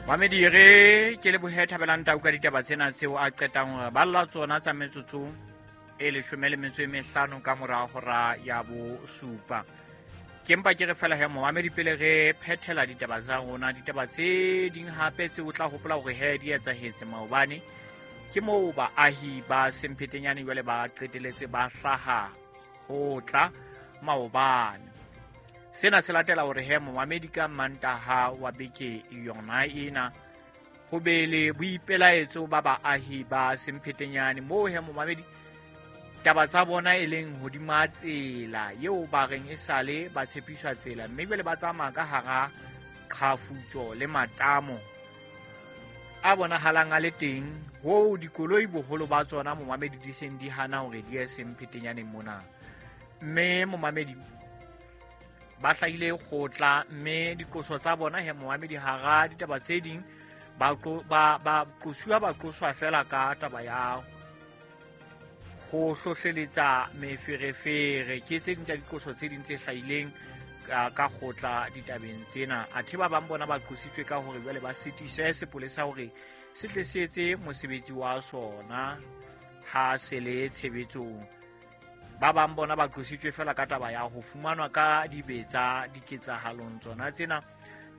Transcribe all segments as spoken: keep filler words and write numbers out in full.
Mamedi re ke lebohe Thabelang Tau ka ditaba tsena tseo a qetang hore balla tsona tsa metsotso e leshome le metso e mehlano ka mora hora ya bosupa. Ke mpa ke re fela he momamedi pele re phethela ditaba tsa rona, ditaba tse ding hape tse o tla hopola hore he di etsahetse maobane ke moo baahi ba Semphetenyane jwale ba qeteletse ba hlaha ho tla maobane. Sena se latela hore he momamedi ka Mantaha wa beke yona ena ho be le boipelaetso ba baahi ba Semphetenyane moo he momamedi taba tsa bona e leng hodima tsela eo ba reng e sale ba tshepiswa tsela, mme jwale ba tsamaya ka hara qhafutso le matamo a bonahalang a le teng ho dikoloi boholo ba tsona momamedi di seng di hana hore di ye Semphetenyane mona. Mme momamedi ba hlahile kgotla, mme dikoso tsa bona he momamedi hara ditaba tse ding ba ba ba qosuwa ba qoswa fela ka taba ya ho hlohleletsa meferefere. Ke tse ding tsa dikoso tse ding tse hlahileng ka, ka kgotla ditabeng tsena. Athe ba bang bona ba qositswe ka hore jwale ba sitise sepolesa hore se tle se etse mosebetsi wa sona ha se le tshebetsong. Ba bang bona ba qositswe fela ka taba ya ho fumanwa ka dibetsa diketsahalong tsona tsena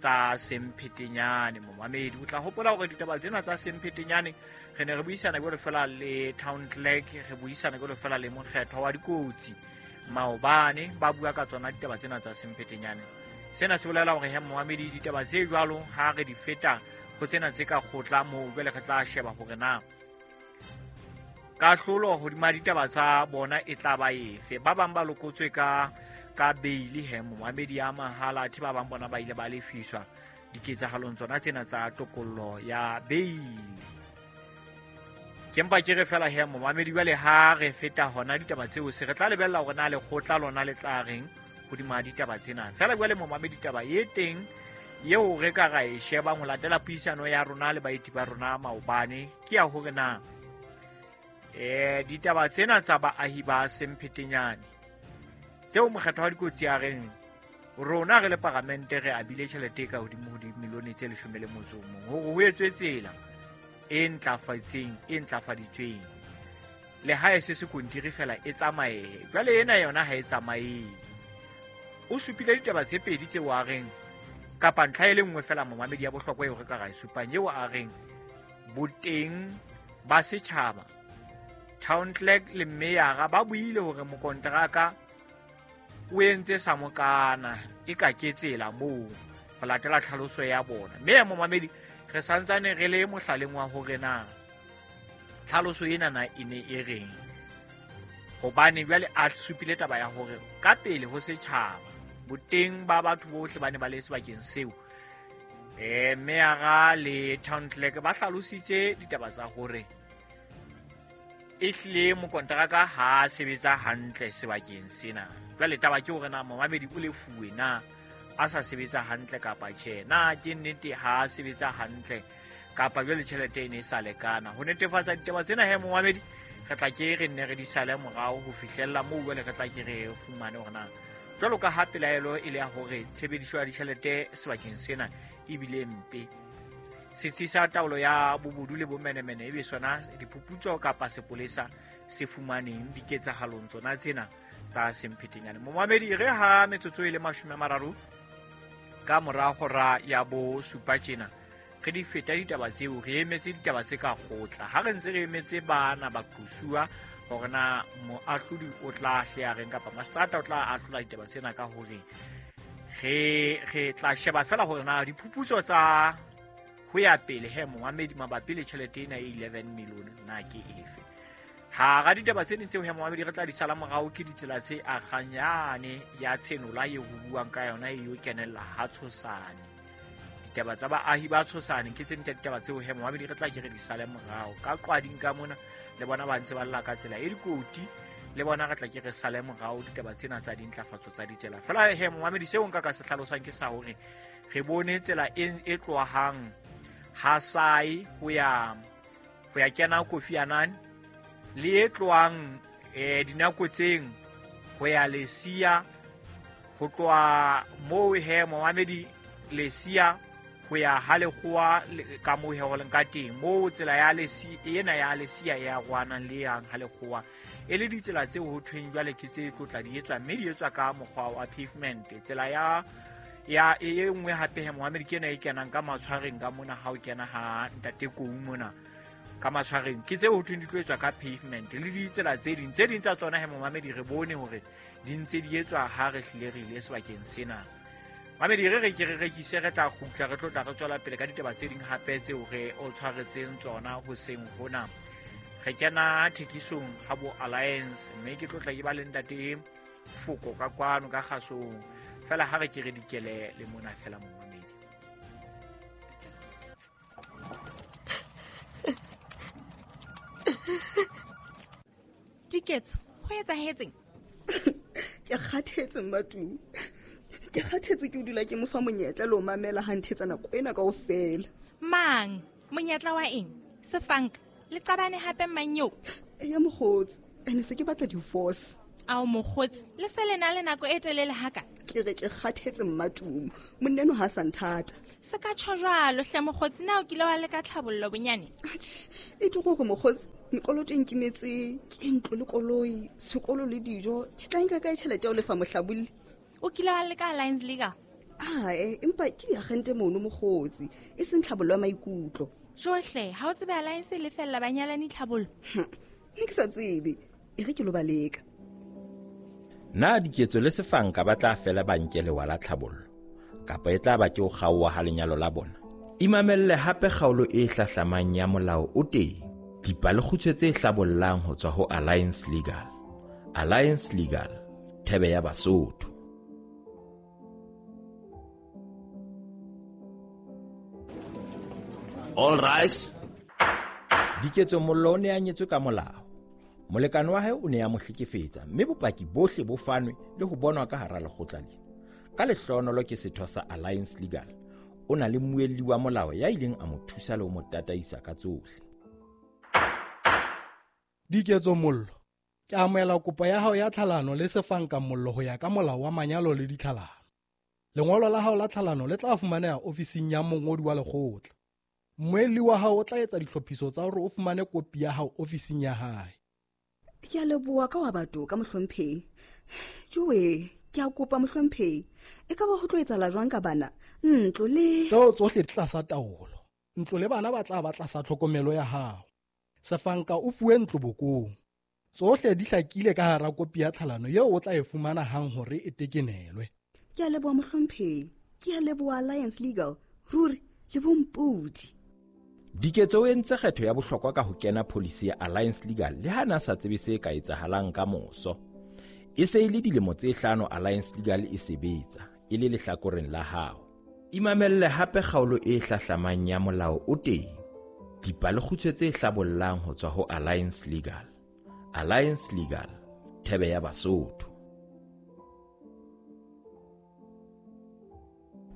tsa Semphetenyane. Momamedi o tla hopola hore ditaba tsena tsa Semphetenyane re ne re buisana jwalo fela le town clerk, re buisana jwalo fela le mokgethwa wa dikotsi maobane, ba bua ka tsona ditaba tsena tsa Semphetenyane. Sena se bolela hore he momamedi ditaba tse jwalo ha re di feta ho tsena tse ka kgotla moo jwale re tla sheba hore na kahlolo hodima ditaba tsa bona e tla ba efe. Ba bang ba lokotswe ka ka beili he momamedi ya mahala, athe ba bang bona ba ile ba lefiswa diketsahalong tsona tsena tsa tokollo ya beili. Ke mpa ke re fela he momamedi jwale ha re feta hona ditaba tseo se re tla lebella hore na lekgotla lona le tla reng hodima ditaba tsena. Fela jwale momamedi taba e teng eo re ka ra e shebang ho latela puisano ya rona le baeti ba rona maobane ke ya hore na eh ditaba tsena tsa baahi ba Semphetenyane tseo mokgatlo wa dikotsi a reng rona re le paramente re abile tjhelete ka hodimo ho dimilione tse leshome le motso o mong hore ho etswe tsela e ntlafaditsweng e ntlafaditsweng le ha e se sekontiri fela e tsamaye. Jwale ena yona ha e tsamaye. O supile ditaba tse pedi tseo a reng kapa ntlha e le nngwe fela momamedi ya bohlokwa eo re ka ra e supang eo a reng boteng ba setjhaba town clerk le meyara ba buile hore mokonteraka o entse sa mokana e ka ke tsela moo ho latela tlhaloso ya bona. Mme momamedi re santsane re le mohlaleng wa hore na tlhaloso ena na e ne e reng, hobane jwale a supile taba ya hore ka pele ho setjhaba boteng ba batho bohle ba ne ba le sebakeng seo eh meyara le town clerk ba hlalositse ditaba tsa hore ehlile mokonteraka ha sebetsa hantle sebakeng sena. Jwale taba ke hore na momamedi o lefuwe na a sa sebetsa hantle kapa tjhe, na ke nnete ha sebetsa hantle kapa jwale tjhelete e ne e sa lekana. Ho netefatsa ditaba tsena he momamedi re tla ke re nne re di sale morao ho fihlella moo jwale re tla ke re fumane hore na jwalo ka ha pelaelo e le ya hore tshebediso ya ditjhelete sebakeng sena ebile mpe. Setsi sa taolo ya bobodu le bomenemene ebe sona diphuputso kapa sepolesa se fumaneng diketsahalong tsona tsena tsa Semphetenyane. Momamedi re ha metsotso e le mashome a mararo ka mora hora ya bosupa tjena re di feta ditaba tseo, re emetse ditaba tse ka kgotla. Ha re ntse re emetse bana ba qosuwa hore na moahlodi o tla hle a reng kapa mastrata o tla ahlola ditaba tsena ka hore re re tla sheba fela hore na diphuputso tsa ho ya pele he momamedi mabapi le tjhelete ena e eleven million na ke efe. Hara ditaba tse ding tseo he momamedi re tla di sala morao ke ditsela tse akganyane ya tshenola eo ho buang ka yona e yo kenella ha Tshosane. Ditaba tsa baahi ba Tshosane ke tse ding tsa ditaba tseo he momamedi re tla ke re di sale morao. Ka qwading ka mona le bona ba ntse ba lla ka tsela e dikoti, le bona re tla ke re sale morao ditaba tsena tsa dintlafatso tsa ditsela. Fela he momamedi seo nka ka se hlalosang ke sa hore re bone tsela e e tlohang Hasai ho ya ho ya kena Kofi Annan le e tlohang eh dinakotseng ho ya Lesia, ho tloha moo he momamedi Lesia ho ya ha lekgowa ka moo he ho leng ka teng moo tsela ya lesi ena ya lesia ya rwanang le yang ha lekgowa e le ditsela tseo ho thweng jwale ke tse tlotla di etswa mme di etswa ka mokgwa wa pavement. Tsela ya ya e nngwe hape he Mohammed ke ena e kenang ka matshwareng ka mona ha o kena ha ntate Kou mona ka matshwareng ke tseo ho thweng di tlo etswa ka pavement le ditsela tse ding tse ding tsa tsona he Mohammed re bone hore di ntse di etswa ha re hlile re ile sebakeng sena. Mamedi re re ke re rekise re tla kgutla re tlo tla re tswela pele ka ditaba tse ding hape tseo re o tshwaretseng tsona hoseng hona. Re kena thekisong ha bo Alliance mme ke tlo tla ke ba le ntate Foko ka kwano ka kgasong fela ha re ke re dikele le mona fela momamedi. Diketso ho etsahetseng? Ke kgathetse Mmatumi. Ke kgathetse ke dula ke mo fa monyetla le o mamela ha nthetsa nako ena kaofela. Mang? Monyetla wa eng? Sefanka le qabane hape mang eo? Eya mokgotsi, ene se ke batla divorce. Ao mokgotsi, le se le na le nako e telele haka? Ke re ke kgathetse Mmatumi, monna ha sa nthata. Se ka tjho jwalo hle mokgotsi, na o kile wa leka tlhabollo bonyane? Atjhe, e tlo gore mokgotsi, mekoloto e nkimetse, ke ntlo le koloi, sekolo le dijo, ke tla nka kae tjhelete ya ho lefa mohlabolli? O kile wa leka Alliance Legal? Ae, empa ke diagente mono mokgotsi, e seng tlhabollo ya maikutlo. Johle, ha o tsebe Alliance e lefella banyalani tlhabollo? Nne ke sa tsebe, e re ke lo ba leka. Na Diketso le Sefanka ba tla fela ba nke lewa la tlhabollo kapa e tla ba ke ho kgaoha ha lenyalo la bona? Imamelle hape kgaolo e hlahlamang ya molao o teng. Dipalekgutshwe tse hlabollang ho tswa ho Alliance Legal. Alliance Legal, thebe ya Basotho. All rise. Diketso Mollo o ne a nyetswe ka molao. Molekane wa hae o ne a mo hlekefetsa mme bopaki bohle bo fanwe le ho bonwa ka hara lekgotla lena. Ka lehlohonolo ke setho sa Alliance Legal. O na le mmuelli wa molao ya ileng a mo thusa le ho mo tataisa ka tsohle. Diketso Mollo, ke amohela kopo ya hao ya tlhalano le Sefanka Mollo ho ya ka molao wa manyalo le ditlhalano. Lengolo la hao la tlhalano le tla fumaneha ofising ya mongodi wa lekgotla. Mmuelli wa hao o tla etsa ditlhophiso tsa hore o fumane kopi ya hao ofising ya hae. Ke a leboha ka wa batho ka mohlomphehi. Jowe, ke a kopa mohlomphehi. E ka ba ho tlo etsahala jwang ka bana? Ntlo le tseo tsohle di tlasa taolo. Ntlo le bana ba tla ba tlasa tlhokomelo ya hao. Sefanka o fuwe ntlo bokong. Tsohle di hlakile ka hara kopi ya tlhalano eo o tla e fumana hang hore e tekenelwe. Ke a leboha mohlomphehi. Ke a leboha Alliance Legal. Ruri le bompodi. Diketso o entse kgetho ya bohlokwa ka ho kena policy ya Alliance Legal le ha na sa tsebe se ka etsahalang ka moso. E se e le dilemo tse hlano Alliance Legal e sebetsa e le lehlakoreng la hao. Imamelle hape kgaolo e hlahlamang ya molao o teng. Dipalekgutshwe tse hlabollang ho tswa ho Alliance Legal. Alliance Legal, thebe ya Basotho.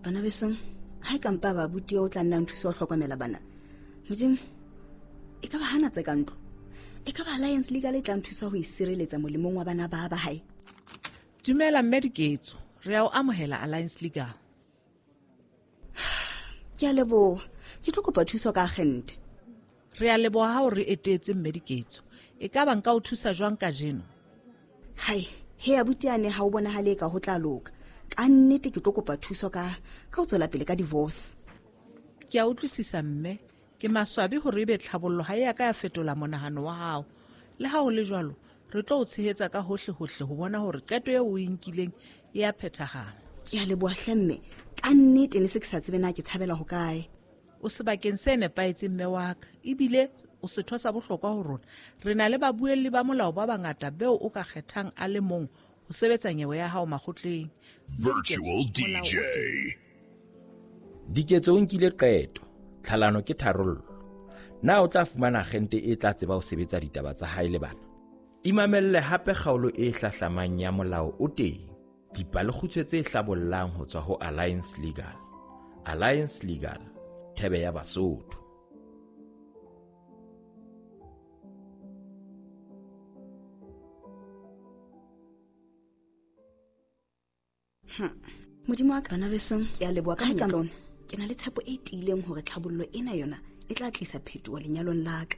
Bana besong, ha e ka mpa ba buti o tla nna nthusa ho hlokomela bana. Modimo, e ka ba hana tse ka ntlo. E ka ba Alliance Legal e tla nthusa ho isireletsa molemong wa bana ba ba hae. Dumela mme Diketso, re a o amohela Alliance Legal. Ke a leboha. Ke tlo kopa thuso ka agente. Re a leboha ha o re etetse mme Diketso. E ka ba nka o thusa jwang kajeno? Hai, he abuti ane ha o bonahale ka ho tla loka. Ka nnete ke tlo kopa thuso ka ka ho tswela pele ka divorce. Ke a utlwisisa mme. Ke maswabi hore ebe tlhabollo ha e ya ka ya fetola monahano wa hao. Le ha ho le jwalo, re tlo o tshehetsa ka hohle hohle ho bona hore qeto eo o e nkileng e a phethahala. Ke a leboha hle mme. Ka nnete ne se ke sa tsebe na ke tshabela ho kae. O sebakeng se nepahetseng mme wa ka, ebile o setho sa bohlokwa ho rona. Re na le babuelli ba molao ba bangata beo o ka kgethang a le mong ho sebetsa nyewe ya hao makgotleng. Virtual D J. Diketso o nkile qeto. Tlhalano ke tharollo. Na o tla fumana agente e tla tseba ho sebetsa ditaba tsa hae le bana? Imamelle hape kgaolo e hlahlamang ya molao o teng. Dipalekgutshwe tse hlabollang ho tswa ho Alliance Legal. Alliance Legal, thebe ya Basotho. Modimo wa ka bana besong, ke a leboha ka monyetla. Ke na le tshepo e tiileng hore tlhabollo ena yona e tla tlisa phetoho lenyalong la ka.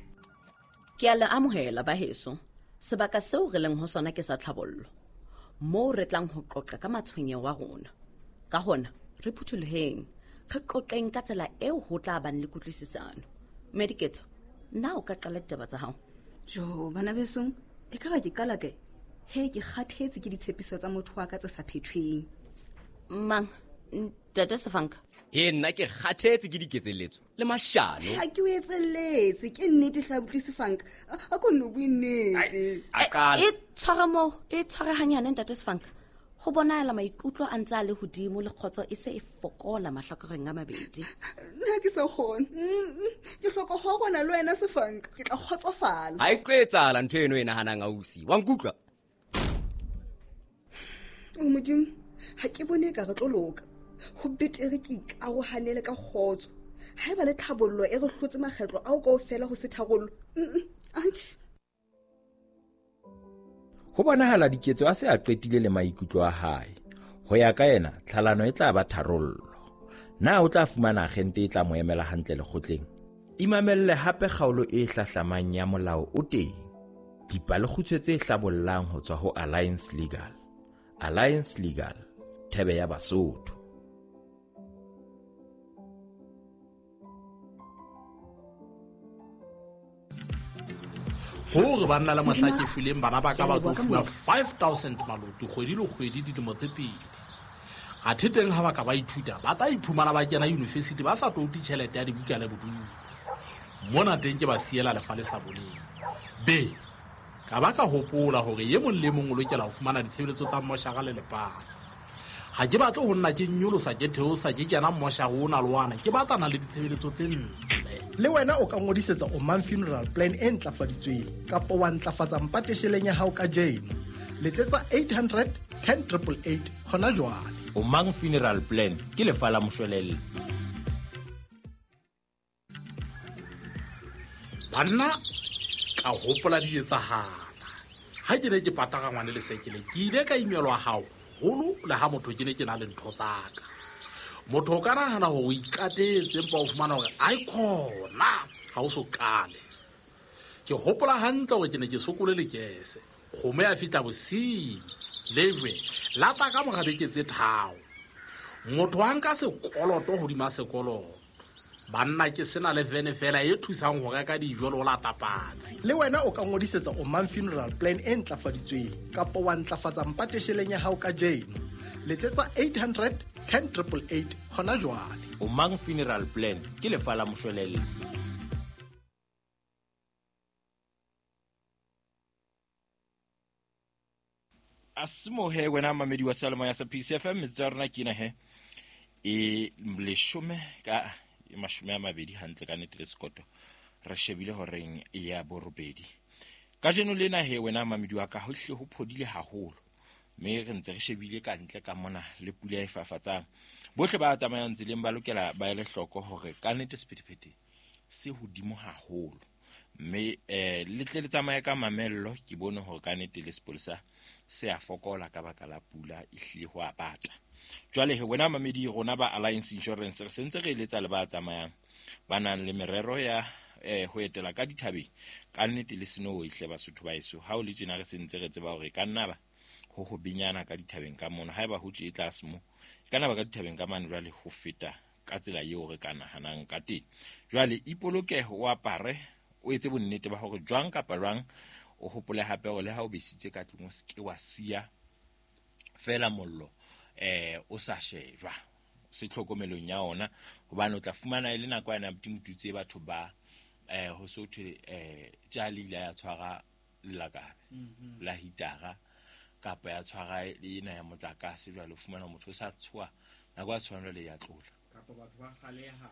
Ke a le amohela baheso. Sebaka seo re leng ho sona ke sa tlhabollo, moo re tlang ho qoqa ka matshwenyeho a rona. Ka hona re phuthuloheng, re qoqeng ka tsela eo ho tla bang le kutlwisisano. Mme Diketso, na o ka qala ditaba tsa hao? Jo, bana besong, e ka ba ke qala kae? He, ke kgathetse ke ditshepiso tsa motho wa ka tse sa phethweng. Mang, ntate Sefanka? E nna ke kgathetse ke diketselletso le mashano. Ha ke o etselletse, ke nnete hle abuti Sefanka. A ko nno bue nnete. A qala. E tshware moo, e tshware hanyane ntate Sefanka. Ho bonahala maikutlo a ntse a le hodimo le kgotso e se e fokola mahlakoreng a mabedi. Nna ke sa kgone. Ke hloka ho rona le wena Sefanka, ke tla kgotsofala. Ha e tlo etsahala ntho eno e nahanang ausi. Wa nkutlwa? O Modimo, ha ke bone ka re tlo loka. Ho betere ke ikarohanele ka kgotso. Haeba le tlhabollo e re hlotse makgetlo ao kaofela ho se tharollo. Atjhe. Ho bonahala Diketso a se a qetile le maikutlo a hae. Ho ya ka yena, tlhalano e tla ba tharollo. Na o tla fumana agente e tla mo emela hantle lekgotleng? Imamelle hape kgaolo e hlahlamang ya molao o teng. Dipalekgutshwe tse hlabollang ho tswa ho Alliance Legal. Alliance Legal, thebe ya Basotho. Hore banna le mohla ke shweleng bana ba ka ba tlo fuwa five thousand maloto kgwedi le kgwedi dilemo tse pedi. Athe teng ha ba ka ba ithuta, ba tla iphumana ba kena university ba sa touti tjhelete ya dibuka le bodulo. Mona teng ke ba siela lefa le sa boleng. Be, ka ba ka hopola hore e mong le mong o lokela ho fumana ditshebeletso tsa mmoshara le lepala. Ha ke batle ho nna ke nyolosa ke theosa ke kena mmoshara ona le wana, ke batlana le ditshebeletso tse ntle. Le wena o ka ngodisetsa Omang Funeral Plan e ntlafaditsweng kapa wa ntlafatsa mpatesheleng ya hao kajeno. Letsetsa eight hundred ten triple eight hona jwale. Omang Funeral Plan ke lefa la moshwelella. Banna ka hopola di etsahala. Ha ke ne ke pataka ngwane le sekele, ke ile ka imelwa haholo le ha motho ke ne ke na le ntho tsa ka. Motho o ka nahana hore o ikatetse empa o fumana hore ai khona ha o so qale. Ke hopola hantle hore ke ne ke sokole lekese. Kgomo ya fihla bosiu, lejwe la tla ka mora beke tse tharo. Motho a nka sekoloto hodima sekoloto. Banna ke sena le vene fela e thusang ho reka dijo le ho lata patsi. Le wena o ka ngodisetsa Omang Funeral Plan e ntlafaditsweng kapa wa ntlafatsa mpatesheleng ya hao kajeno. Letsetsa eight hundred ten triple eight hona jwale. Omang Funeral Plan ke lefa la moshwelella. Asimo he wena mamedi wa Saloma ya sa P C F M metsotso ya rona ke ena he e leshome ka mashome a mabedi hantle ka nnete le sekoto re shebile horeng ya borobedi. Kajeno lena he wena mamedi wa ka ho hle ho phodile haholo, mme re ntse re shebile ka ntle ka mona le pula e fafatsang. Bohle ba tsamayang tseleng ba lokela ba ele hloko hore ka nnete sephethephethe se hodimo haholo, mme eh le tle le tsamaye ka mamello. Ke bone hore ka nnete le sepolesa se a fokola ka baka la pula e hlile ho a bata. Jwale he wena mamedi rona ba Alliance Insurance re sentse re eletsa le ba tsamayang ba nang le merero ya eh ho etela ka dithabeng. Ka nnete le snow ehle Basotho ba eso ha o le tjena re sentse re tseba hore ka nna ba ho ho binyana ka dithabeng ka mono. Haeba ho tje e tlase mo ka nna ba ka dithabeng ka mane jwale ho feta ka tsela eo re ka nahanang ka teng. Jwale ipolokeho o apare o etse bonnete ba hore jwang kapa jwang o hopole hape hore le ha o besitse ka tlung o se ke wa siya fela mollo eh o sa shejwa se tlhokomelong ya ona, hobane o tla fumana e le nako yana butimututse batho ba eh ho so thwe eh tjali la ya tshwara lelakabe la hitara kapa ya tshwara ena ya motlakase. Jwale o fumana motho o sa tshoa nako ya tshwana le ya tlola kapa batho ba kgaleha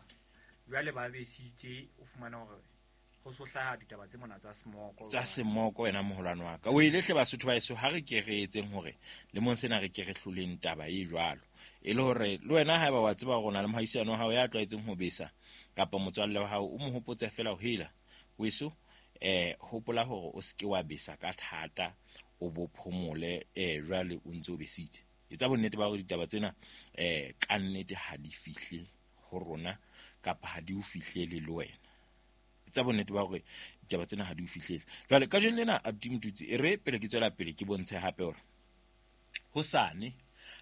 jwale ba besitse o fumana hore ho so hlaha ditaba tse mona tsa semoko tsa semoko. Wena moholwane wa ka o ile hle Basotho ba eso ha re ke re etseng hore le mong sena re ke re hloleng taba e jwalo, e le hore le wena haeba wa tseba hore o na le mohaisane wa hao ya tlwaetseng ho besa kapa motswalle wa hao o mo hopotse fela ho hela weso eh hopola hore o se ke wa besa ka thata o bo phomole eh jwale o ntse o besitse. Etsa bonnete ba hore ditaba tsena eh ka nnete ha di fihle ho rona kapa ha di o fihlele le wena. Tsa bonnete ba hore ditaba tsena ha di o fihlele. Jwale kajeno lena Abdi Mtutsi e re pele ke tswela pele ke bontshe hape hore hosane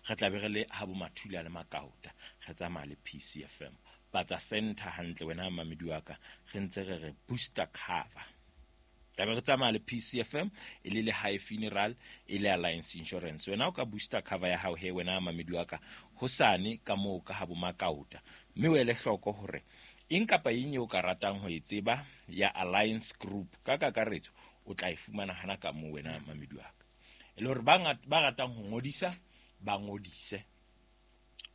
re tla be re le ha bo Mathula le Makauta re tsamaya le P C F M Patsa Center hantle wena mamedi wa ka re ntse re re booster cover. Tla be re tsamaya le P C F M e le le High Funeral e le Alliance Insurance. Wena o ka booster cover ya hao he wena mamedi wa ka hosane ka moo ka ha bo Makauta. Mme o ele hloko hore eng kapa eng eo ka ratang ho e tseba ya Alliance Group ka kakaretso o tla e fumana hana ka moo wena mamedi wa ka. E le hore ba ba ratang ho ngodisa ba ngodise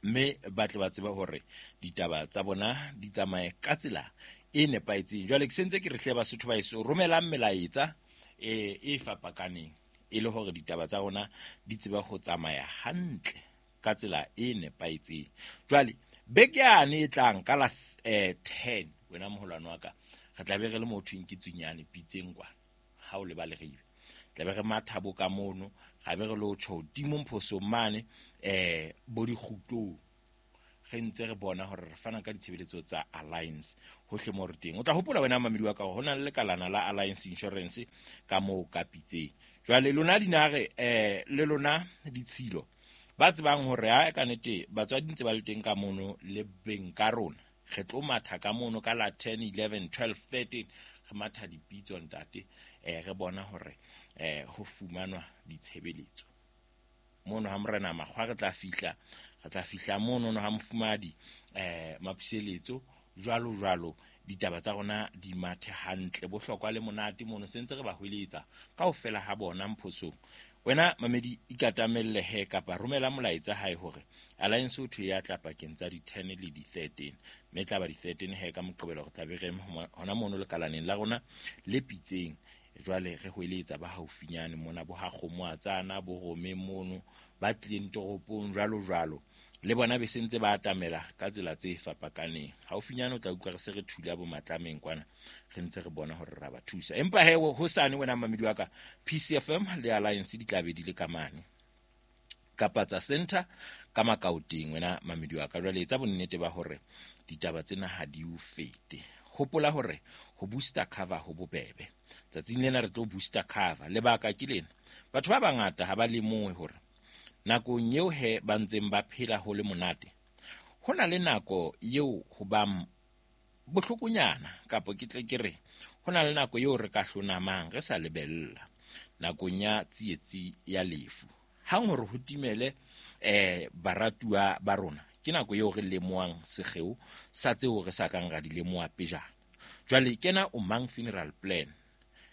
mme ba tle ba tseba hore ditaba tsa bona di tsamaye ka tsela e nepahetseng. Jwale ke sentse ke re hle Basotho ba eso romelang melaetsa e e fapakaneng e le hore ditaba tsa rona di tseba ho tsamaya hantle ka tsela e nepahetseng. Jwale beke yane e tlang ka la ten wena moholwane wa ka re tla be re le motho ke Tsunyane Pitseng kwa ha o le ba leribe tla be re mathabo ka mono ga be re lo tjho hodimo Mphosong mane eh bo dikgutlong re ntse re bona hore re fana ka ditshebeletso tsa Alliance hohle mo re teng. O tla hopola wena mamedi wa ka hore ho na le lekalana la Alliance Insurance ka moo ka Pitseng. Jwale lona dinare eh le lona ditshilo ba tsebang hore ha ka nete batswadi ntse ba le teng ka mono le beng ka rona re tlo matha ka mono ka la ten eleven twelve thirteen re matha dipitso ntate eh re bona hore eh ho fumanwa ditshebeletso mono ha morena Makgwa re tla fihla re tla fihla mono no ha mofumadi eh Mapiseletso jwalo jwalo ditaba tsa rona di mathe hantle bohlokwa le monate mono sentse re ba hweletsa kaofela ha bona Mphosong. Wena mamedi ikatamelle he kapa romela molaetsa hae hore Alliance o thwe ya tla pakeng tsa di ten le di thirteen mme tla ba di thirteen he ka moqebelo re tla be re hona mono lekalaneng la rona le Pitseng. Jwale re hweletsa ba haufinyane mona bo ha kgomo a tsana bo rome mono ba tlileng toropong jwalo jwalo le bona be sentse ba atamela ka tsela tse fapakaneng. Haufinyane o tla utlwa re se re thula bo matlameng kwana re ntse re bona hore ra ba thusa. Empa he hosane wena mamedi wa ka P C F M le Alliance di tla be di le ka mane kapa tsa center ka Makaoteng wena mamedi wa ka. Jwale etsa bonnete ba hore ditaba tsena ha di o fete. Hopola hore ho booster cover ho bobebe. Tsatsing lena re tlo booster cover. Lebaka ke lena, batho ba bangata ha ba lemohe hore nakong eo he ba ntseng ba phela ho le monate ho na le nako eo ho ba bohlokonyana kapa ke tle ke re ho na le nako eo re ka hlonamang re sa lebella nakong ya tsietsi ya lefu. Hang hore ho timele eh baratuwa ba rona ke nako eo re lemoang sekgeo sa tseo re sa kang ra di lemoha pejana. Jwale kena o mang funeral plan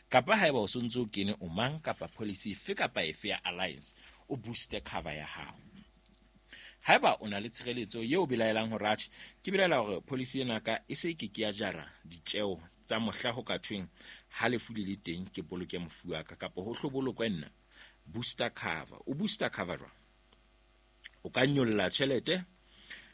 kapa haeba o sontse o kene o mang kapa policy efe kapa efe ya Alliance o booste cover ya hao. Haeba o na le tshireletso eo belaelang hore atjhe ke belaela hore policy ena ka e se ke ke ya jara ditjeo tsa mohla ho ka thweng ha lefu le le teng ke boloke mofu wa ka kapa ho hlobolokwe nna, booster cover. O booster cover jwang? O ka nyolla tjhelete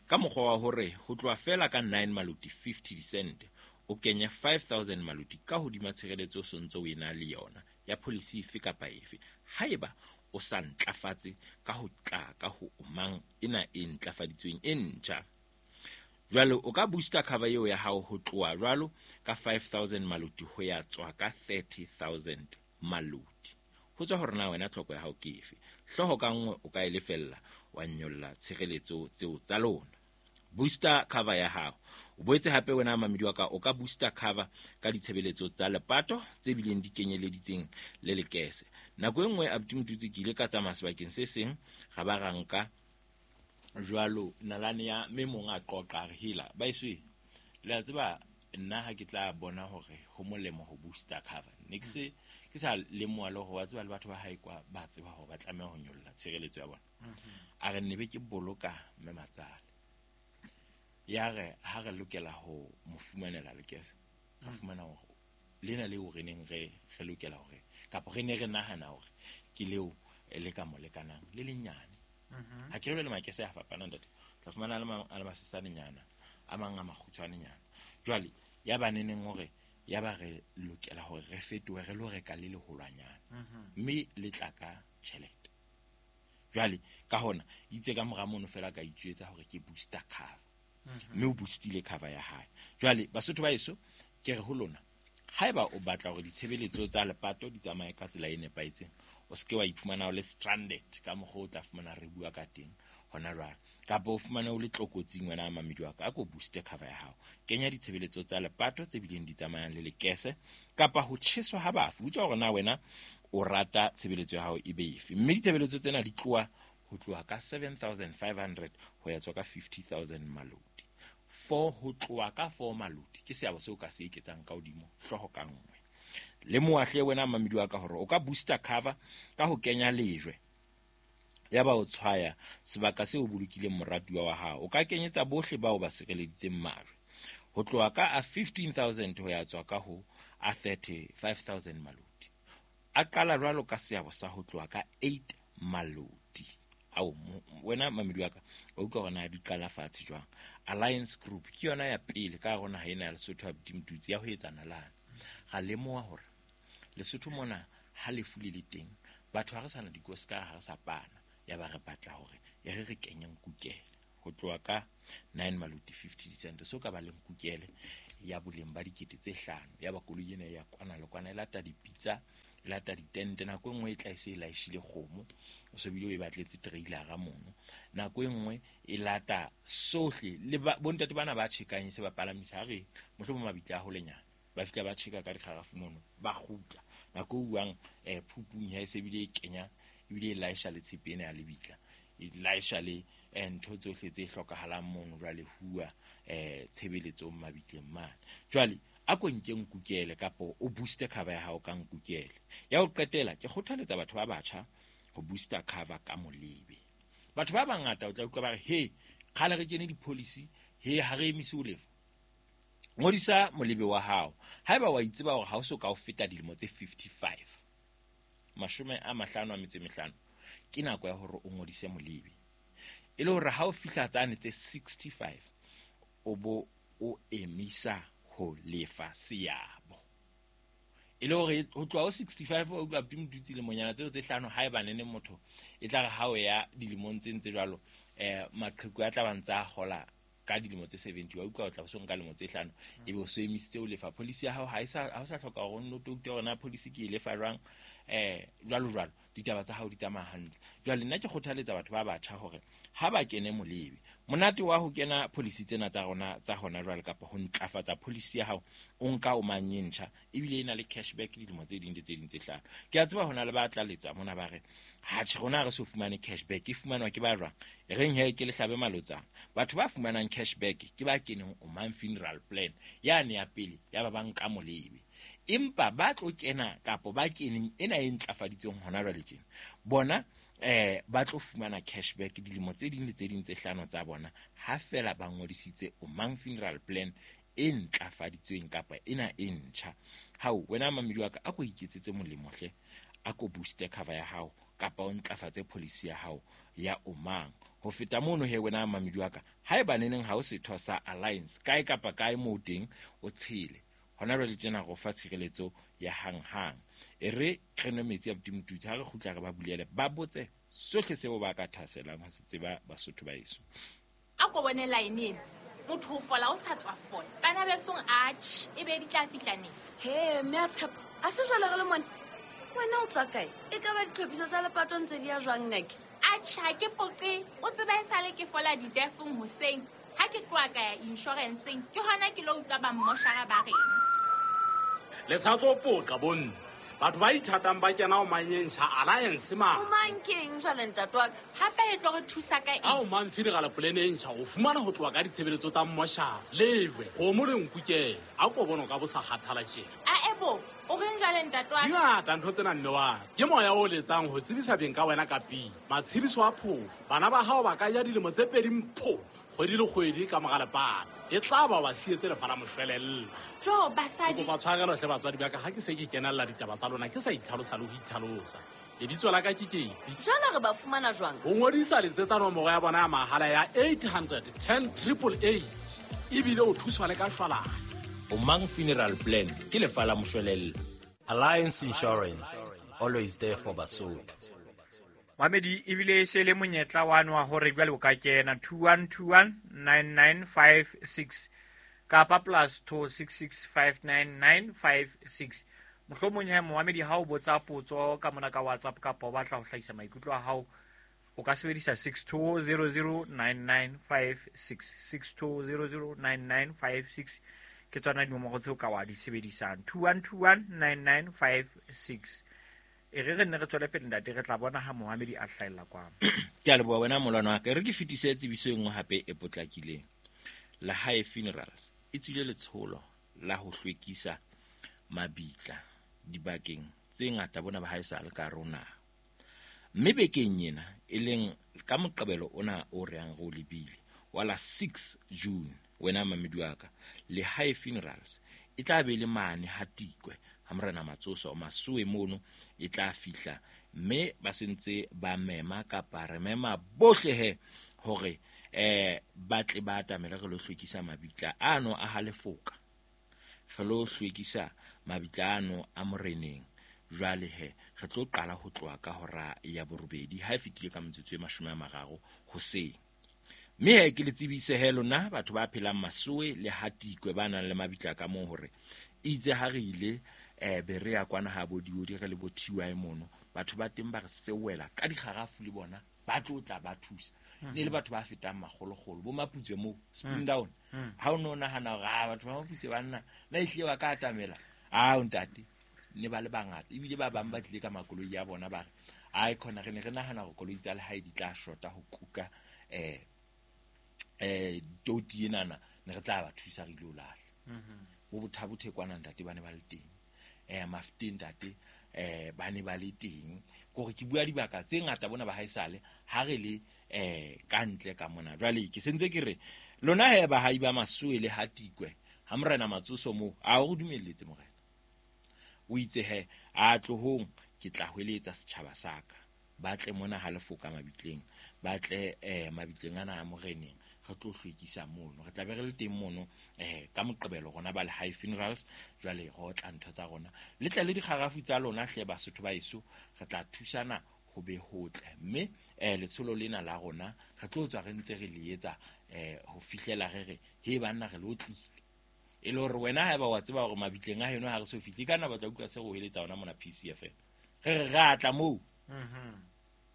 ka mokgwa wa hore ho tloha fela ka nine maluti fifty cent o kenya five thousand maluti ka hodima tshireletso o sontse o ena le yona ya policy efe kapa efe. Haeba o sa ntlafatse ka ho tla ka ho mang ena e ntlafaditsweng e ntjha. Jwale o ka booster cover eo ya hao ho tloha jwalo ka five thousand maluti ho ya tswa ka thirty thousand maluti. Ho tswa hore na wena tlhoko ya hao ke efe. Hlooho ka nngwe o ka e lefella wa nyolla tshireletso tseo tsa lona. Booster cover ya hao. O boetse hape wena mamedi wa ka o ka booster cover ka ditshebeletso tsa lepato tse bileng di kenyeleditseng le lekese. Nako e nngwe Abdi Mtutsi ke ile ka tsamaya sebakeng se seng ga ba ra nka jwalo nalane ya mme mong a qoqa re hela ba iswe le a tseba nna ha ke tla bona hore ho molemo ho booster cover ne ke se ke sa lemoha le hore wa tseba le batho ba hae kwa ba tseba hore ba tlameha ho nyolla tshireletso ya bona. A re nne be ke boloka mme matsale ya re ha re lokela ho mo fumanela lekese ra fumana hore lena leo re neng re re lokela hore kapa re ne re nahana hore ke leo le ka mo lekanang le lenyane. Ha ke re le makese a fapana ntate tla fumana le a le masesanenyana a mang a makgutshwanenyana. Jwale ya ba neneng hore ya ba re lokela hore re fetohe re lo reka le leholwanyana mme le tla ka tjhelete. Jwale ka hona itse ka mora mono fela ka itjwetsa hore ke booster cover. Mme o boostile cover ya hae. Jwale Basotho ba heso ke re ho lona, haeba o batla hore ditshebeletso tsa lepato di tsamaye ka tsela e nepahetseng, o seke wa iphumana o le stranded ka mokgwa o tla fumana re bua ka teng hona jwale, kapa o fumane o le tlokotsing wena a mamedi wa ka, a ko booste cover ya hao. Kenya ditshebeletso tsa lepato tse bileng di tsamayang le lekese kapa ho tjheswa ha bafu. Utlwa hore na wena o rata tshebeletso ya hao e be efe, mme ditshebeletso tsena di tloha ho tloha ka seven thousand five hundred ho ya tswa ka fifty thousand malodi. Four ho tloha ka four malodi ke seabo seo ka se eketsang ka hodimo hlooho ka nngwe. Le moahle wena mamedi wa ka hore o ka booster cover ka ho kenya lejwe ya ba o tshwaya sebaka seo o bolokileng moratuwa wa hao. O ka kenyetsa bohle bao ba sireleditseng majwe ho tloha ka a fifteen thousand ho ya tswa ka ho a thirty-five thousand malodi. A qala jwalo ka seabo sa ho tloha ka eight malodi. Ao wena mamedi wa ka o utlwa hore na di qala fatshe jwang. Alliance Group ke yona ya pele ka hare ho naha ena ya Lesotho ya Mtutsi ya ho etsa nalane. Ra lemoha hore Lesotho mona ha lefu le le teng, batho ha re sana dikosi ka ha re sa pana, ya ba re batla hore e re re kenye nkukele ho tloha ka nine maloti fifty cent. So ka ba le nkukele ya boleng ba dikete tse hlano, ya ba koloi ena ya kwana le kwana e lata dipitsa, e lata ditente. Nako e nngwe e tla e se e laeshile kgomo, o so bile o e batletse trailer-a mono. Nako e nngwe e lata sohle le bontate bana ba tjhekang e se ba palamisa, ha re mohlomong mabitla a holenyana, ba fihla ba tjheka ka dikgarafu mono, ba kgutla. Nako e uwang eh phupung ya e se bile e kenya, ebile e laesha le tshepe ena ya lebitla, e laesha le ntho tsohle tse hlokahalang mono jwale huwa eh tshebeletsong mabitleng mane. Jwale a ko nke nkukele kapa o booste cover ya hao ka nkukele. Ya ho qetela ke kgothaletsa batho ba batjha ho booster cover ka molebe. Batho ba bangata o tla utlwa ba re he kgale re kene di-policy, he ha re emise ho lefa. Ngodisa molebe wa hao haeba wa itseba hore ha o so ka o feta dilemo tse fifty-five, mashome a mahlano a metso e mehlano, ke nako ya hore o ngodise molebe, e le hore ha o fihla tsane tse sixty-five o bo o emisa ho lefa seabo. E le hore ho tloha ho sixty-five o utlwa Mtutsi lemonyana tseo tse hlano, haeba nene motho e tla re ha o ya dilemong tse ntse jwalo eh maqheku a tla ba ntsa hola ka dilemo tse seventy, wa utlwa o tla so nka lemo tse hlano ebe o so emisitse o lefa policy ya hao. Ha e sa ha o sa hloka hore o nno touta hore na policy ke e lefa jwang eh jwalo jwalo, ditaba tsa hao di tsamaya hantle. Jwale nna ke kgothaletsa batho ba batjha hore ha ba kene molebe, monate wa ho kena policy tsena tsa rona tsa hona jwale kapa ho ntlafatsa policy ya hao o nka o mang e ntjha, ebile e na le cashback dilemo tse ding le tse ding tse hlano. Ke a tseba hona le ba tla letsa mona ba re ha tjhe rona re so fumane cashback, e fumanwa ke ba jwang? E reng he ke lehlabe malotsana. Batho ba fumanang cashback ke ba keneng o mang funeral plan yane ya pele ya ba banka molebe, empa ba tlo kena kapa ba keneng ena e ntlafaditseng hona jwale tjena bona eh ba tlo fumana cashback dilemo tse ding le tse ding tse hlano tsa bona ha fela ba ngodisitse o mang funeral plan e ntlafaditsweng kapa ena e ntjha. Hao wena mamedi wa ka, a ko iketsetse molemo hle, a ko booste cover ya hao kapa o ntlafatse policy ya hao ya omang. Ho feta mono he wena mamedi wa ka, haeba neneng ha o setho sa Alliance kae kapa kae moo teng o tshele hona jwale tjena go fa tshireletso ya hanghang. E re re nwe metsi a Mtutsi, ha re kgutla re ba bulele ba botse sohle seo ba ka thaselang ho se tseba Basotho ba heso. A ko bone line ena, motho o fola o sa tswa fola, bana besong atjhe e be di tla fihla neng? He mme a tshepo a se jwale re le mone, wena o tswa kae? E ka ba ditlhophiso tsa lepato ntse di ya jwang nake? Atjhe ha ke poqe, o tseba e sale ke fola ditefong hoseng, ha ke tloha ka ya insurance-eng ke hona ke lo utlwa ba mmoshara ba reng. Le sa tlo poqa bonne, batho ba ithatang ba kena o manyentjha Alliance ma. O mang keng jwale ntate wa ka? Hape e tlo re thusa ka eng? Ha o mang funeral plan e ntjha o fumana ho tloha ka ditshebeletso tsa mmoshara, lejwe, kgomo le nkukele. A ko bona o ka bo sa kgathala tjena. A ebo, o reng jwale ntate wa ka? Di ngata ntho tsena mme wa ka. Ke moya o letsang ho tsebisa beng ka wena ka pele. Matshediso a phofo, bana ba hao ba ka ja dilemo tse pedi mpho kgwedi le kgwedi ka mora lepato. E tla ba ba sietse lefa la moshwelella. Jo basadi, kopa tshwarelo hle batswadi ba ka, ha ke se ke kenella ditaba tsa lona ke sa itlhalosa le ho itlhalosa. Lebitso la ka ke Kepi. Jwale re ba fumana jwang? Ho ngodisa letsetsa nomoro ya bona ya mahala ya eight hundred ten triple eight, ebile o thuswa le ka shwalane. O mang funeral plan ke lefa la moshwelella. Alliance Insurance, always there for Basotho. Mamedi ebile e se le monyetla wa wa hore jwale o ka kena two one two one nine nine five six kapa plus two six six five nine nine five six. Mohlomong he Mohamedi ha o botsa potso ka mona ka WhatsApp kapa o batla ho hlahisa maikutlo a hao, o ka sebedisa six two zero zero nine nine five six, six two zero zero nine nine five six ke tsona dinomoro tseo ka wa di sebedisang, two one two one nine nine five six. E re re nne re tswele pele ntate, re tla bona ha Mohamedi a hlahella kwano. Ke a leboha wena molwana wa ka. E re ke fetise tsebiso e nngwe hape e potlakileng. Lehae Funerals e tswile letsholo la ho hlwekisa mabitla dibakeng tse ngata bona ba haesale ka rona. Mme bekeng ena e leng ka Moqebelo ona o reng re o lebile wa la six June, wena mamedi wa ka, Lehae Funerals e tla be le mane ha Tikwe ha Morena Matsoso Masoe mono e tla fihla, mme ba sentse ba mema kapa re mema bohle he hore eh ba tle ba atamele re lo hlwekisa mabitla ano a halefoka, re lo hlwekisa mabitla ano a moreneng. Jwale he re tlo qala ho tloha ka hora ya borobedi ha e fetile ka metsotso e mashome a mararo hoseng. Mme he ke le tsebise he lona batho ba phelang Masoe le Hatikwe ba nang le mabitla ka moo hore itse ha re ile eh be re ya kwana ha bo diodi re le bo T Y mono, batho ba teng ba re sewela ka dikgarafu le bona ba tlo tla ba thusa. Ne le batho ba fetang makgolokgolo bo Maputswe moo Spring Down. Ha o no nahana hore ah batho ba Maputswe ba nna na ehlile ba ka atamela, ah ntate ne ba le bangata ebile ba bang ba tlile ka makoloi ya bona ba re ai khona re ne re nahana hore koloi tsa lehae di tla shota ho kuka eh eh toti enana ne re tla ba thusa re ile ho lahla. Bo bothabothe kwana ntate ba ne ba le teng, eh mafteng ntate eh ba ne ba le teng, kore ke bua dibaka tse ngata bona ba haesale ha re le eh ka ntle ka mona. Jwale ke sentse ke re lona he ba hai ba Masoe le Hatikwe ha Morena Matsoso moo a o dumelletse morena o itse he a tlohong ke tla hweletsa setjhaba saka ba tle mona ha lefoka mabitleng, ba tle eh mabitleng ana a moreneng re tlo hlwekisa mono, re tla be re le teng mono eh ka Moqebelo rona ba Lehae Funerals. Jwale re otla ntho tsa rona le tle le dikgarafu tsa lona hle Basotho ba eso, re tla thusana ho be hotle. Mme eh letsholo lena la rona re tlo tswa re ntse re le etsa eh ho fihlela re re he banna re lo tlile, e le hore wena haeba wa tseba hore mabitleng a heno ha re so fihle ka nna ba tla utlwa se re heletsa ona mona P C F M re re re atla moo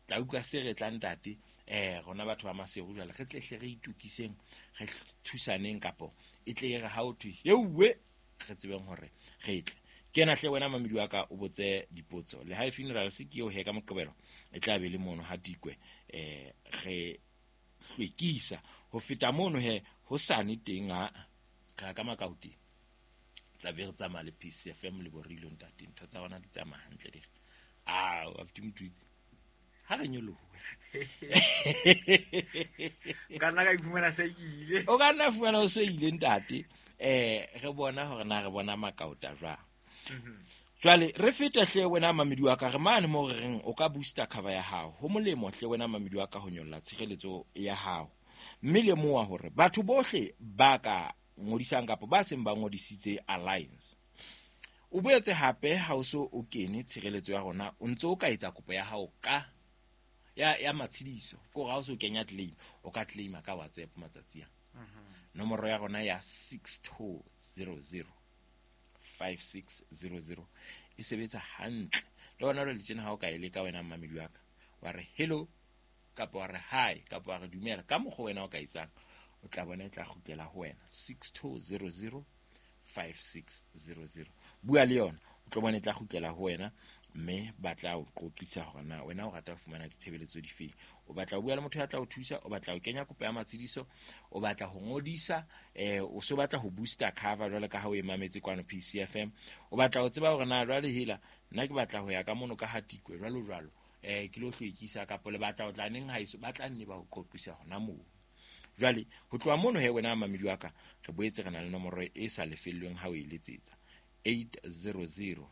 tla utlwa se re tla ntate eh rona batho ba Maseru jwale re tle hle re itukiseng re thusaneng kapo e tle re ha o thwe euwe re tsebeng hore re tle. Kena hle wena mamedi wa ka o botse dipotso. Lehae Funerals ke eo he ka Moqebelo e tla be le mono ha Tikwe eh re hlwekisa ho feta mono he ho sane teng ha ka ka makauti tla be re tsamaya le P C F M le borilo ntate ntho tsa rona di tsamaya hantle di ah wa mtutsi ha re nyolohe ka nna ka iphumana se ile o ka nna fumana o se ile ntate eh re bona hore na re bona makauta jwang. Jwale re fete hle wena mamedi wa ka re mane mo re reng o ka booster cover ya hao ho molemo hle wena mamedi wa ka ho nyolla tshireletso ya hao, mme lemoha hore batho bohle ba ka ngodisang kapa ba seng ba ngodisitse Alliance. O boetse hape ha o so o kene tshireletso ya rona o ntse o ka etsa kopo ya hao ka ya ya matshediso ko ha o so kenya claim o ka claima ka WhatsApp matsatsi a nomoro ya rona ya six two zero zero five six zero zero e sebetsa hantle le wena le tjena ha o ka e leka wena mmamedi wa ka wa re hello kapa wa re hi kapa wa re dumela ka mokgwa wena o ka etsang o tla bona e tla kgutlela ho wena six two zero zero five six zero zero. Bua le yona o tlo bona e tla kgutlela ho wena mme ba tla o qoqisa hore na wena o rata ho fumana ditshebeletso difeng, o batla ho bua le motho ya tla o thusa, o batla ho kenya kopo ya matshediso, o batla ho ngodisa eh o so batla ho booster cover jwale ka ha o e mametse kwano P C F M, o batla ho tseba hore na jwale hela nna ke batla ho ya ka mono ka Hatikwe jwalo jwalo eh ke lo hlwekisa kapa le batla ho tla neng haeso, ba tla nne ba o qoqisa hona moo. Jwale ho tloha mono he wena mamedi wa ka re boetse re na le nomoro e sa lefellweng ha o e letsetsa eight zero zero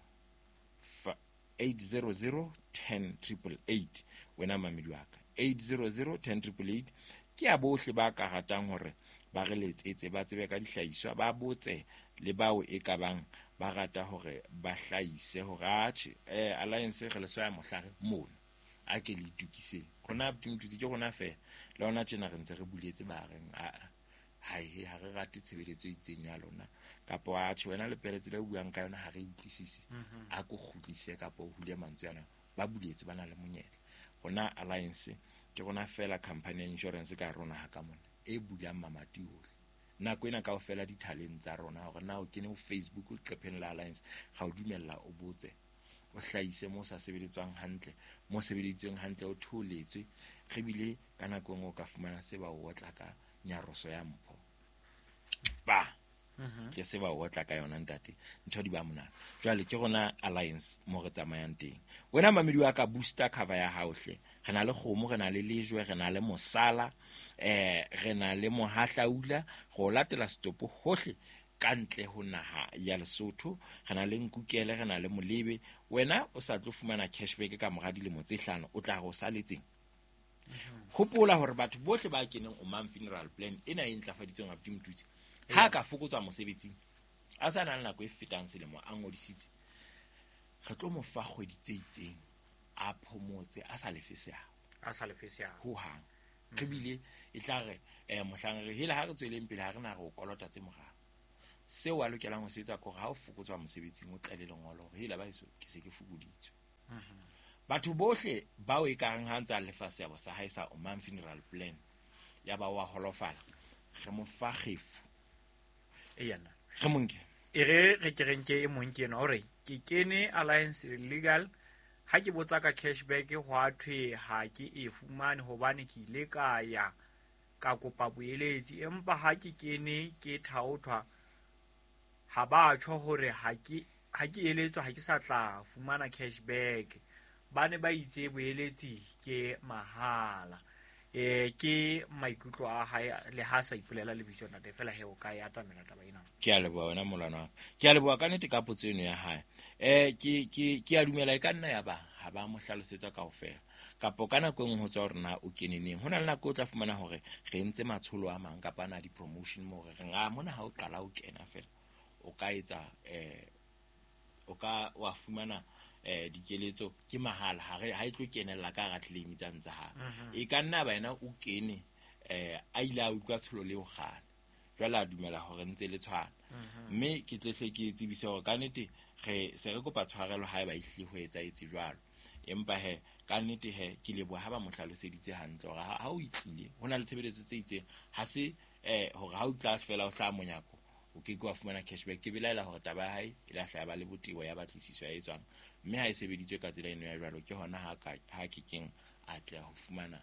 eight zero zero ten triple eight wena mamedi wa ka eight zero zero ten triple eight ke ya bohle ba ka ratang hore ba re letsetse ba tsebe ka dihlahiswa ba botse le bao e ka bang ba rata hore ba hlahise hore atjhe eh Alliance re le swaya mohlare mono A ke le itukiseng. Rona Motutsi ke rona fela. Le hona tjena re ntse re buletse ba reng a ha he ha re rate tshebeletso e itseng ya lona. Kapa wa tjho wena le peletse le buang ka yona ha re utlwisise. A ko kgutlise kapa o hule mantswe ana. Ba buletse ba na le monyetla. Rona Alliance ke rona fela company ya insurance ka rona ha ka mona e bulang mamati ohle. Nako ena kaofela dithaleng tsa rona hore na o kene ho Facebook o leqepheng la Alliance ga o dumella o botse o hlahise mo sa sebeletswang hantle mo sebeleditsweng hantle o tholetswe re bile ka nako engwe o ka fumana se ba o otla ka nyaroso ya mpho ba ke se ba o otla ka yona ntate ntho di ba monate. Jwale ke rona Alliance mo re tsamayang teng. Wena mamedi wa ka booster cover ya hao hle. Re na le kgomo, re na le lejwe, re na le mosala, eh re na le mohahlaula go latela setopo hohle ka ntle ho naha ya Lesotho. Re na le nkukele, re na le molebe. Wena o sa tlo fumana cashback ka mora dilemo tse hlano o tla go saletseng. Hopola hore batho bohle ba keneng Omang funeral plan ena e ntlafaditsweng abuti Motutsi ha ka fokotswa mosebetsing a sa na le nako e fetang selemo a ngodisitse re tlo mo fa kgwedi tse itseng a phomotse a sa lefe seabo a sa lefe seabo ho hang. Re bile e tla re eh mohlang re hela ha re tsweleng pele ha re na re o kolota tse morao. Seo a lokelang ho se etsa kore ha o fokotswa mosebetsing o tlale lengolo hore hela ba eso ke se ke fokoditswe. Batho bohle bao e kareng ha ntsa lefa seabo sa hae sa Omang funeral plan ya ba wa holofala re mo fa kgefu e yana re monke e re re ke renke e mong ke ena hore ke kene Alliance Legal ha ke botsa ka cashback ho a thwe ha ke e fumane hobane ke ile ka ya ka kopa boeletsi empa ha ke kene ke thaothwa ha ba tjho hore ha ke ha ke eletswa ha ke sa tla fumana cashback ba ne ba itse boeletsi ke mahala. Eh ke maikutlo a hae le ha sa ipolela lebitso ntate fela he o ka ya atamela taba ena. Ke a leboha wena molwana. Ke a leboha ka nnete ka potso eno ya hae. Eh ke ke ke a dumela e ka nna ya ba ha ba mo hlalosetsa kaofela. Kapo ka nako engwe ho tswa hore na o keneneng. Ho na le nako o tla fumana hore re entse matsholo a mang kapa ana di promotion mo re reng a mona ha o qala o kena fela o ka etsa eh o ka wa fumana eh dikeletso ke mahala ha re ha e tlo kenella ka hara claim tsa ntsa ha e ka nna ba yena o kene eh a ile a utlwa tsholo leo kgale jwale a dumela hore ntse le tshwana mme ke tlehle ke tsebise hore ka nnete re se re kopa tshwarelo ha eba ehlile ho etsa etse jwalo empa he ka nnete he ke leboha ha ba mo hlaloseditse hantle hore ha o itlile ho na le tshebeletso tse itseng ha se eh hore ha o tla fela o hla monyako o ke ke wa fumana cashback. Ke belaela hore taba ya hae e la hlaya ba le botebo ya batlisiso ya etswang mme ha e sebeditswe ka tsela eno ya jwalo ke hona ha ka ha ke keng a tla ho fumana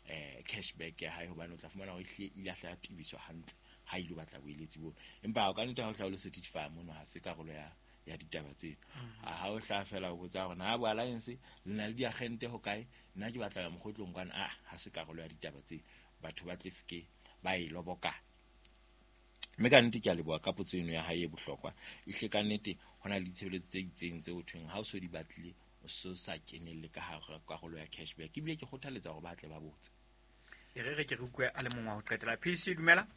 eh cashback ya hae hobane o tla fumana hore ehlile ile a hlaya tibiswa hantle ha ile batla boeletsi bo empa o ka nnete ha o hla o le certify mono ha se karolo ya ya ditaba tseno. Ha o hla fela o botsa hore na bo Alliance le na le diagente ho kae nna ke batla ya mokgotlong kwana a ha se karolo ya ditaba tseno batho ba tle seke ba e loboka. Mme ka nnete ke a leboha ka potso eno ya hae e bohlokwa ehle ka nnete ho na le ditshebeletso tse itseng tse ho thweng ha o so di batlile o so sa kenelle ka hara karolo ya cashback ebile ke kgothaletsa hore ba tle ba botse. E re re ke re utlwe a le mongwe wa ho qetela. P C dumela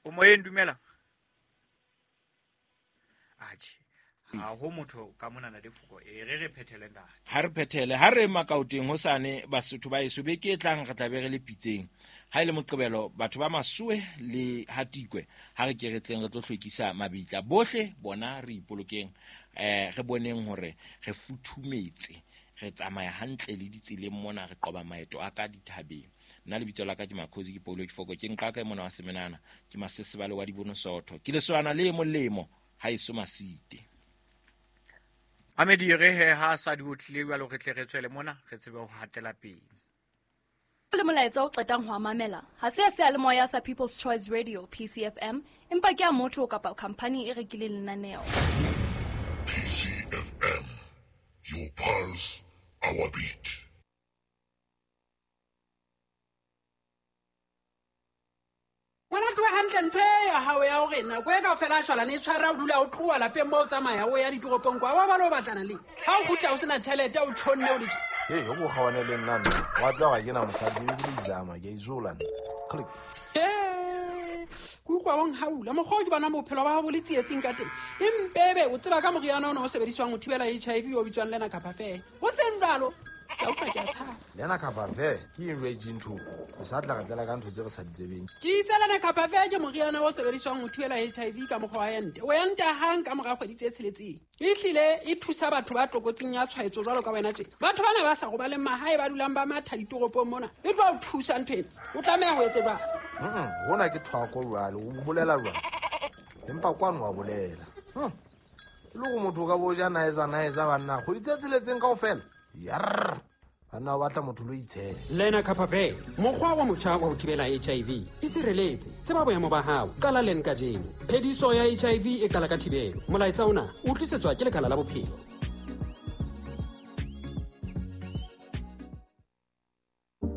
o moyeng dumela atjhe ha ho motho ka mona na difoko e re re phethele ntate ha re phethele ha re makaoteng hosane Basotho ba eso beke e tlang re tla be re le pitseng ha ile moqebelo batho ba Masoe le Hatikwe ha re ke re tleng re tlo hlwekisa mabitla bohle bona re ipolokeng eh re boneng hore re futhumetse re tsamaya hantle le ditseleng mona re qoba maeto a ka dithabeng. Nna lebitso la ka ke Makhosi ke Paulo ke Foko ke nqaka e mona wa Semenana ke Masesebale wa Dibono Sotho ke leswana le molemo ha eso masite. Amedi re he ha sa di otlile jwalo re tle re tswele mona re tsebe ho hatela pele. Le molaetsa o qetang ho mamela ha se se le moya sa People's Choice Radio P C F M empa ke a motho kapa company e rekileng lenaneo. P C F M, your pulse, our beat. Ngwana tloha hantle ntho e ya hao ya hore nako e kaofela a shwalane e tshwara o dula o tloha lapeng moo o tsamaya o ya ditoropong kwa wa ba lo batlana le ha o kgutla o sena tjhelete o tjhonne o le Hey, o go gawane le nna nna wa tseba ga ke na mosadi ke le izama ke izola nna. Click. Eh, Ke utlwa bong haula mokgwa o ke bonang bophelo ba hao bo le tsietsing ka teng. Empebe o tseba ka moriana ona o sebediswang ho thibela H I V o bitswang Lena Capafe. Ho seng jwalo, ke a utlwa ke a tshaba. Lena Capafe ke eng jwale ntho? O sa tla re tlela ka ntho tse re sa di tsebeng. Ke itse Lena Capafe ke moriana o sebediswang ho thibela H I V ka mokgwa wa ente. O enta hang ka mora kgwedi tse tsheletseng. Ehlile e thusa batho ba tlokotsing ya tshwaetso jwalo ka wena tje. Batho bana ba sa robaleng mahae ba dulang ba matha ditoropong mona. E tlo o thusa ntho ena. O tlameha ho etse jwang? Mm, hona ke thwako jwale, o bolela jwang? Empa kwano wa bolela. Hm. E le hore motho o ka bo ja naeza naeza banna, kgwedi tse tsheletseng kaofela. Yarr. Banna ba batla motho lo itshela. Lena Capafe, mokgwa wa motjha wa ho thibela H I V. Itshireletse, tseba boemo ba hao, qala len kajeno. Phediso ya H I V e qala ka thibelo. Molaetsa ona o tlisetswa ke Lekala la Bophelo.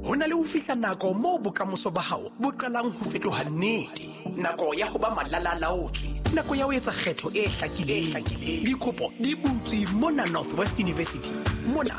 Ho na le ho fihla nako moo bokamoso ba hao bo qalang ho fetoha nnete. Nako ya ho ba malalalaotswe, nako ya ho etsa kgetho e hlakileng. Dikopo di butswe mona Northwest University. Mona